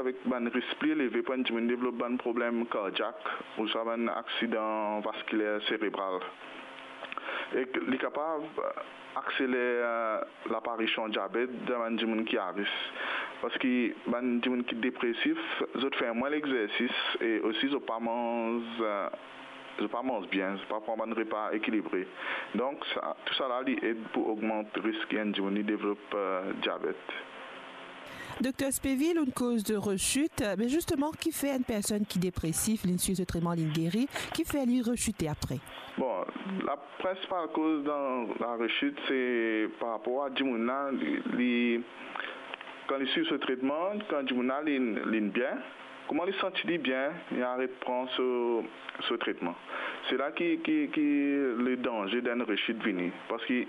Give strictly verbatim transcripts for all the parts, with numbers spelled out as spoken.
avek bann risk pli eleve pou enn dimoun devlop bann problem kardiak ouswa bann aksidan vaskiler serebral. Ek li kapav akseler, eh, laparision diabet dan bann dimoun ki a risk. Parski bann dimoun ki depresif, zot fer mwin lexersis e osi zot pa manz, eh, zot pa manz bien, zot pa pran bann repa ekilibre. Donk, sa, tousala, li ed pou ogmant risk enn dimoun li devlop, eh, diabet. Dokter Spéville, ou'nn koz de rechit, me zisteman, ki fer enn personn ki depresif, li'nn swiv so tretman, li'nn geri, ki fer li rechite apre? Bon, la prinsipal koz dan la rechit, se par rapor a dimoun la, li, li, kan li swiv so tretman, kan dimoun la, li, li'nn bien, kouma li santi li bien, li aret pran so, so tretman. Se la ki, ki, ki le danze dan enn rechit vini. Parski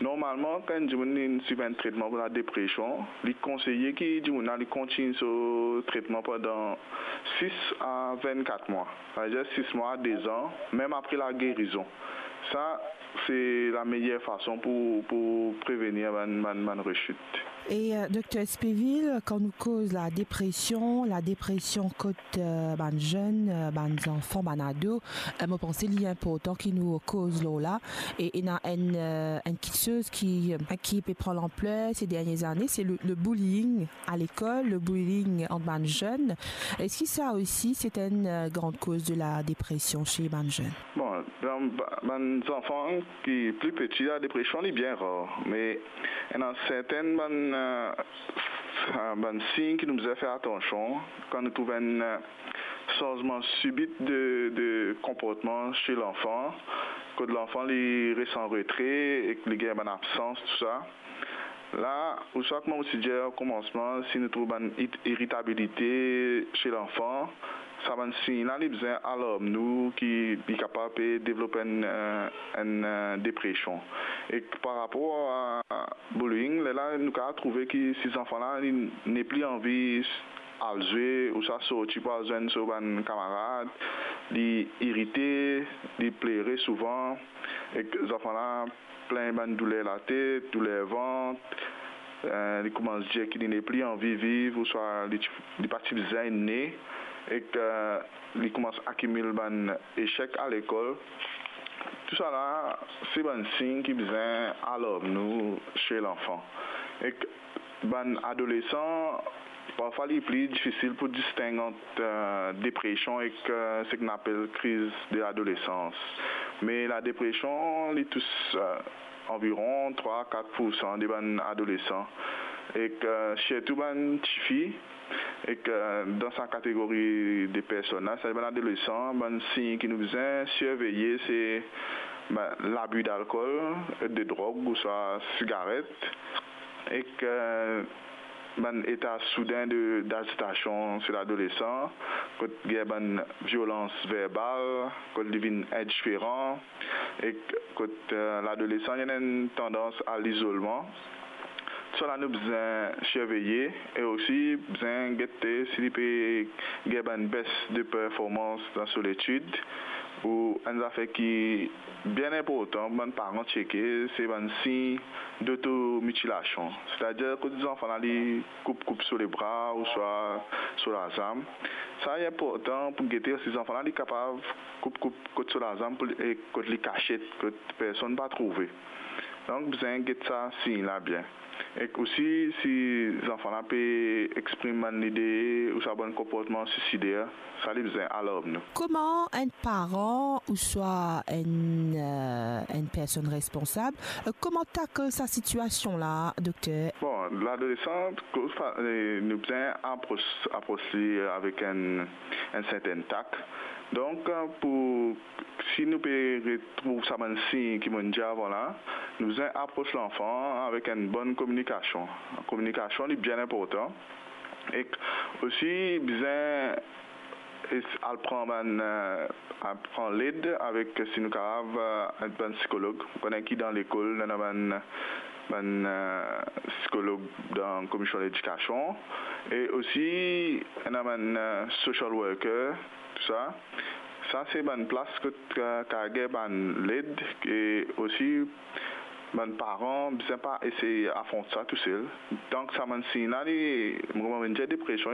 normalman, kan enn dimoun li swiv enn tretman pou ladepresion, li konseye ki dimoun la, li kontign so tretman pandan sis a vennkat mwa. Savedir sis mwa a de zan, mem apre lagerizon. Sa, se lameyer fason pou, pou prevenir bann, bann, bann rechit. E, eh, Dokter Spéville, kan nou koz ladepresion, ladepresion kot, eh, bann zenn, eh, bann zanfan, bann ado, eh, mo panse li inportan ki nou koz lor la. E ena enn, eh, enn kiksoz ki, eh, ki pe pran lanpler se dernie zane, se le, le bullying a lekol, le bullying ant bann zenn. Eski sa osi se enn, eh, gran koz de ladepresion se bann zenn? Bon, dan ba-, bann zanfan ki pli piti, ladepresion li bien rar, me ena sertin bann, eh, bann sign ki nou bizin fer atansion kan nou trouv enn, eh, sanzman sibit de, de konportman se lanfan, kot lanfan li res an retre ek li gagn bann absans, tousa. La, ouswa kouma mo ti dir o koumansman, si nou trouv bann it-, iritabilite se lanfan, sa bann sign la, li bizin alarm nou ki li kapav pe devlop enn, eh, enn, eh, depresion. Ek par rapor a bullying, lerla nou kapav trouve ki si zanfan la, li nepli anvi al zwe ouswa sorti pou al zwenn so bann kamarad, li irite, li plere souvan, ek zanfan la plin bann douler latet, douler vant, eh, li koumans dir ki li nepli anvi viv, ouswa li ti, li pa ti bizin ne, ek, eh, li koumans akimil bann esek a lekol. Tousala, se bann sign ki bizin alarm nou se lanfan. Ek bann adolesan, parfwa li pli difisil pou disteng ant, eh, depresion ek, eh, seki nou apel kriz de ladolesans. Me ladepresion, li tous, eh, anviron trwa a kat poursan de bann adolesan. Ek, eh, sirtou bann tifi, ek, eh, dan sa kategori de personn la, sa bann adolesan, bann sign ki nou bizin sirveye, se, ben, labi dalkol, de drog, ouswa sigaret, ek, eh, bann eta souden de, dazitasion se ladolesan, kot gagn bann violans verbal, kot li vinn indiferan, ek kot, eh, ladolesan ena enn tandans a lizolman. Tousala nou bizin sirveye e osi bizin gete si li pe gagn bann bes de performans dan so letid, ou enn zafer ki bien inportan pou bann paran tcheke, se bann sign dotomitilasion. Setadir kot zanfan la, li koup, koup so lebra ouswa so lazam. Sa inportan pou gete si zanfan la, li kapav koup, koup kot so lazam pou li, e kot li kasiet, kot personn pa trouve. Donk, bizin get sa sign la bien. Ek osi, si zanfan la pe exprim bann lide ouswa bann konportman suisider, sa li bizin alarm nou. Kouma enn paran ouswa enn, eh, enn personn responsab, eh, kouma takl sa sitiasion la, dokter? Bon, ladolesan, koz fa-, eh, nou bizin apros, apros li avek enn, enn sertin tak. Donk, eh, pou, si nou pe retrouv sa bann sign ki mo'nn dir avan la, nou bizin apros lanfan avek enn bonn kominikasion. Kominikasion, li bien inportan. Ek osi bizin es-, al pran bann, eh, al pran led avek, si nou kapav, eh, bann psikolog. Ou kone ki dan lekol, nou ena bann, bann, eh, psikolog dan komision ledikasion. E osi, ena bann, eh, social worker, tousa. Sa se bann plas kot, eh, kapav gagn bann led, e osi bann paran bizin pa esey afront sa tousel. Donk, sa bann sign la, li, mo kouma vinn dir, depresion,